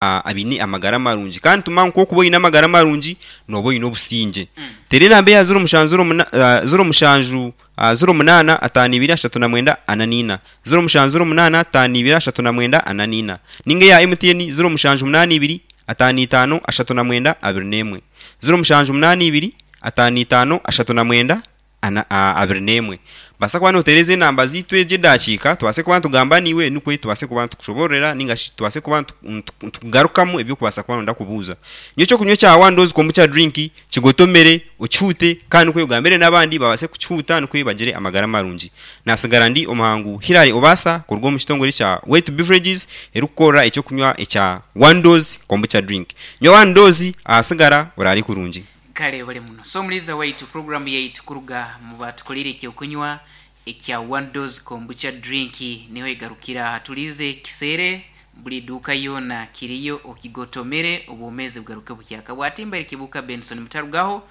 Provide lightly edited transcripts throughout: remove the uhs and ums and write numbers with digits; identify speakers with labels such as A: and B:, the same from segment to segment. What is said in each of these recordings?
A: Abaine amagara marungi. Kandi tumanya ngu ku orikuba oine amagara marungi, nooba oine obusingye. Teera enamba eya ziro mushanju ziro muna ziro mushanju ziro munaana ataano ibiri ashatu na mwenda ana n'ina. Ziro mushanju ziro munaana ataano ibiri ashatu na mwenda ana n'ina. Nainga eya MTN ziro mushanju munaana ibiri ataano itaano ashatu na mwenda abiri n'emwe. Ziro mushanju munaana ibiri ataano itaano ashatu na mwenda ana 21. Baasa kuba nooteereza enamba zaitu egi edaakiika tubaase kuba nitugamba naiwe nikwo tubaase kuba nitukushoboororera nainga shi tubaase kuba nitukugarukamu ebi orikubaasa kuba nooyenda kubuuza. Nywa eky'okunywa kya One Dose Kombucha Drink kigotomere, okihuute kandi nikwo ogambire n'abandi babaase kukihuuta nikwo bagire amagara marungi. Naatsigara ndi omuhangu Hillary Obaasa kuruga omu kitongore kya Wetu Beverages erikukorera eky'okunywa ekya One Dose Kombucha Drink. Nywa One Dose ahasigara oraare kurungi.
B: Kale webale muno. So omuliiza waitu program yaitu kuruga mu batukoleire ekyokunywa ekya one dose kombucha drink niho egarukira aha. Tuliize kiseere buli iduuka yoona kiriyo okigotomere obwomezi bugaruke buhyaka. Bwatimba Eric Kibuuka Benson mutarugaho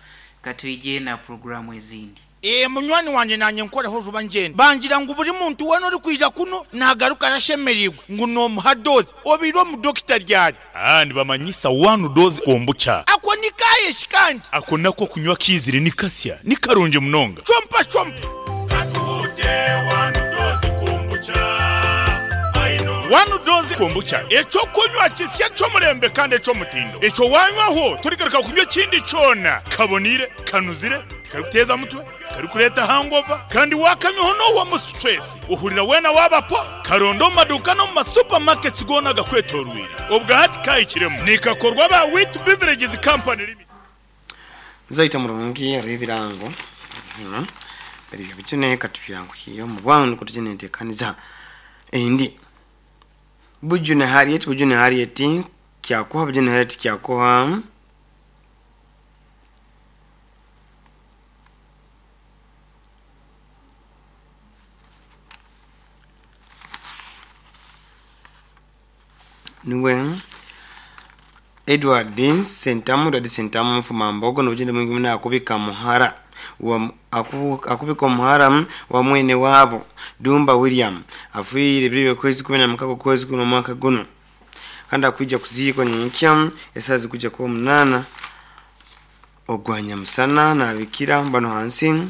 B: katwije na program ezindi.
C: Ee, munywani wangye naanye nkoreho juba ngyende. Bangira ngu buri muntu weena orikwija kunu naagarukayo ashemereirwe ngu noomuha doozi. Obaire omu dokita ryari?
D: Aa, nibamanyisa one dose kombucha.
C: Ako ni kaaye shi kandi?
D: Ako nako okunywa kaizire ni kasya, ni karungi munonga.
C: Chompa chompa.
D: Katuhute one dose kombucha, I know. One dose kombucha, eky'okunywa kisya ky'omurembe kandi eky'omutindo. Ekyo waanywaho torigaruka kunywa ekindi kyona. Kaboniire, kanuzire. Tikarikuteeza mutwe, tikarikureeta hangover, kandi waakanywaho noohwamu stress, ohurira weena waaba po. Karonde omu maduuka n'omu ma supermarkets goona agakwetooroire. Obwa hati kaahikiremu. Nikakorwa aba Wheat Beverages Company Limited.
E: Zaita murungi hariho ebirango binu biri byabujune katubyanguhiye omu bwangu nikwo tugye nentekaniza endi. Bujune Harriet Bujune Harriet Kyakuha Bujune Harriet Kyakuha. Niwe Edward Sentamu Edward Sentamu Nfumambogo nobugyende bwingi muno akubika muhara wa akubika omuhara wa mwene waabo Dumba William afiire ebiro by'okwezi 16 okwezi kuno omwaka guno. Kandi akwija kuziikwa nyenkya esaaha zirikwija kuba munaana ogwa nyamusana nabikira banu hansi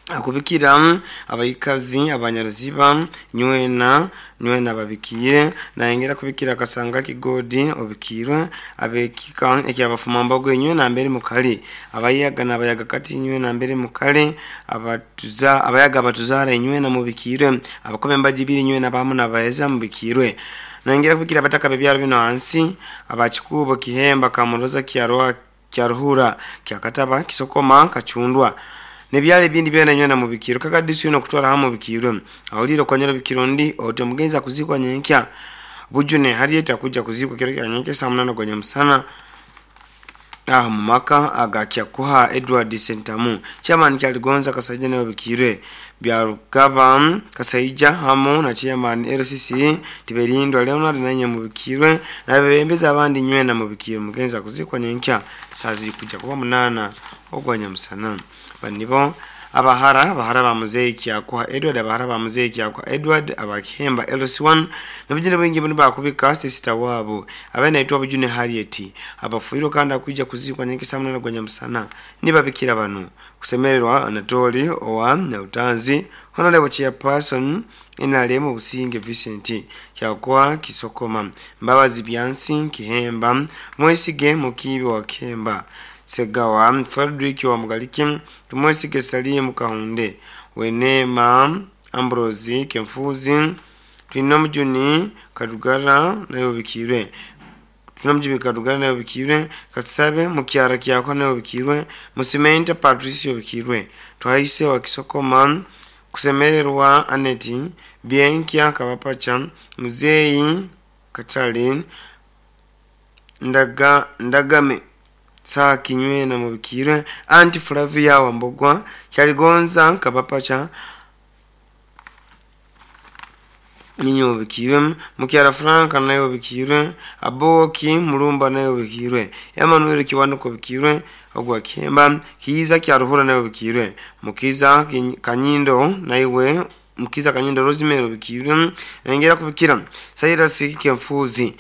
E: akubikira abaikazi abanyaruziba nywena nywena ababikiire nayongera kubikira Kasanga Kigodi obikiirwe abekika ekyabafumambogo inywe nambere mukali abayaga nabayaga kati inywe nambere mukali abatuza abayaga abatuzaara inywena mubikiirwe, abakoba embaju ibiri inywena abamu nabaeza mubikiirwe. Nayongera kubikira abataka b'ebyaro binu ahansi, aba Kikuubo, Kihemba, Kamuroza, Kyarwa, Kyaruhura, Kyakataba, Kisokoma, Kacundwa n'ebyaro ebindi byona inywena mubikiirwe. Kaga Disu yoona okutwara hamu mubikiirwe. Ahuliire okonyera obikira ondi oti omugenzi akuziikwa nyenkya. Bujune Harriet akuja kuziikwa kiro kya nyenkya esaaha munaana ogwa nyamusana. Aha omu maka aga Kyakuha Edward Sentamu, Chairman Kyaligonza Kasaija nawe obikiirwe Byarugaba Kasaija hamu na Chairman LCC Tiberindwa Leonard nainywe mubikiirwe nabebembezi abandi nywena mubikiirwe. Mugenzi akuziikwa nyenkya saaha zirikuja kuba munaana ogwa nyamusana. Banu nibo Abahara, bahara ba Muzeeyi Kyakuha Edward, abahara ba Muzeeyi Kyakuha Edward, aba Kihemba LC1, n'obujune bwingi bunu baakubika sisita waabo abaire naitwa Bujune Harriet, abafiirwe kandi akwija kuziikwa nyenkya saa munaana gwa nyamusana. Nibabikira banu, Kusemererwa Anatoli owa Nyautanzi, Honourable Chairperson nrm Businge Vincent, Kyakuha Kisokoma, Mbabazi Byansi Kihemba, Mwesige Mukiibi owa Kihemba, Ssegawa Fredrick owa Mugaliki, Tumwesige Salim Kahunde, Weneema Ambrose Kenfuuzi, Twinomujuni Karugara nawe obikiirwe, Twinomujuni Karugara nawe obikiirwe, Katusabe Mukyara Kyakwa nawe obikiirwe, Musimenta Patricia obikiirwe, Twahise owa Kisokoma, Kusemererwa Annet, Byenkya Kabapacha, Muzeeyi Katale, Ndaga Ndagame Saaki nywena mubikiirwe, Aunt Flavia Wambogwa, Kyaligonza Kabapacha niinywe mubikiirwe, Mukyara Frank naye obikiirwe, Abooki Mulumba naye obikiirwe, Emmanuel Kiwanuka obikiirwe, ogwa Kihemba, Kiiza Kyaruhura naye obikiirwe, Mukiza Kanyindo naiwe. Mukiza Kanyindo Rosemary obikirwe, nayongera kubikira Cyrus Kenfuzi.